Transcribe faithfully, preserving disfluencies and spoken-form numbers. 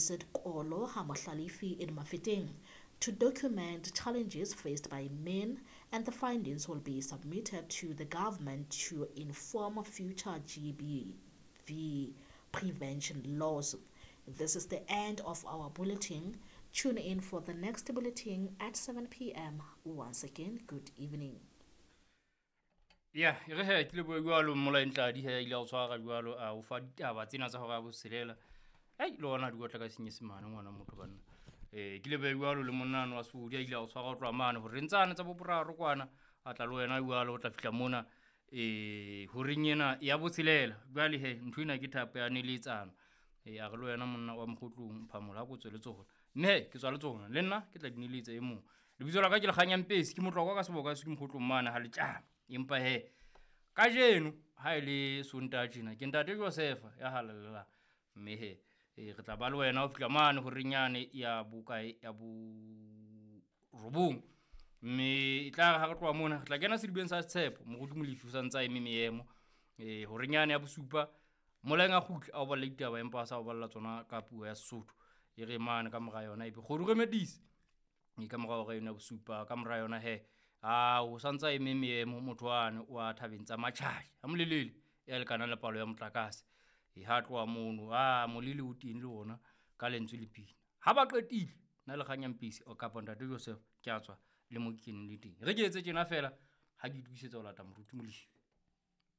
visit Kolo Hamohlalefi in Mafeteng to document challenges faced by men, and the findings will be submitted to the government to inform future G B V prevention laws. This is the end of our bulletin. Tune in for the next bulletin at seven p m. Once again, good evening. Ya, e re he, ke lebohe jwalo Mmolai Ntladi he, ile a o tshwara jwalo, a o fa ditaba tsena tsa hora ya botshelela. Ai, le ona di otla ka senyesemane ngwana motho banna. Eh, ke lebohe jwalo le monnano wa Sefodi a ile a o tshwara ho tloha mane hore ntsane tsa boboraro kwana, a tla le wena jwalo ho tla fihla mona, eh, horeng ena ya botshelela. Jwale he, ntho ena ke thapo ya neletsano. Eh, a re le wena monna wa Mokgotlong, Phamola, ha ko tswe le tsona. Mme he, ke tswa le tsona, le nna ke tla di neletsa e mong. Lebitso la ka ke Lekganyang Pesi, ke motlokwa ka seboka se ke Mokgotlong mane ha Letjana. Empa he, kajeno ha e le Sontaha tjena, ke ntate Josefa ya halalelang. Mme he, eh, re tla ba le wena ho fihla mane horeng yane ya bokae, ya borobong. Mme e tla re ha re tloha mona, re tla kena sedibeng sa Tshepo, moruti Molefi o sa ntse a eme meemo. Eh, horeng yane ya bosupa, Molaeng a kgutle a o balle ditaba, empa a sa o balla tsona ka puo ya Sesotho. E re mane ka mora yona ebe kgodu re medise. E ka mora hora eno ya bosupa, ka mora yona he, a o sa ntse a eme meemo motho wane wa thabeng tsa Matjhae, ha molelele ya lekanang le palo ya motlakase. E ha tloha mono, a molele o teng le ona ka lentswe le pina. Ha ba qetile, nna le Lekganyang Pesi kapa ntate Joseph ke a tswa le mo ke keneng le teng. Re ke etse tjena feela ha ke itokisetsa ho lata moruti Molefi.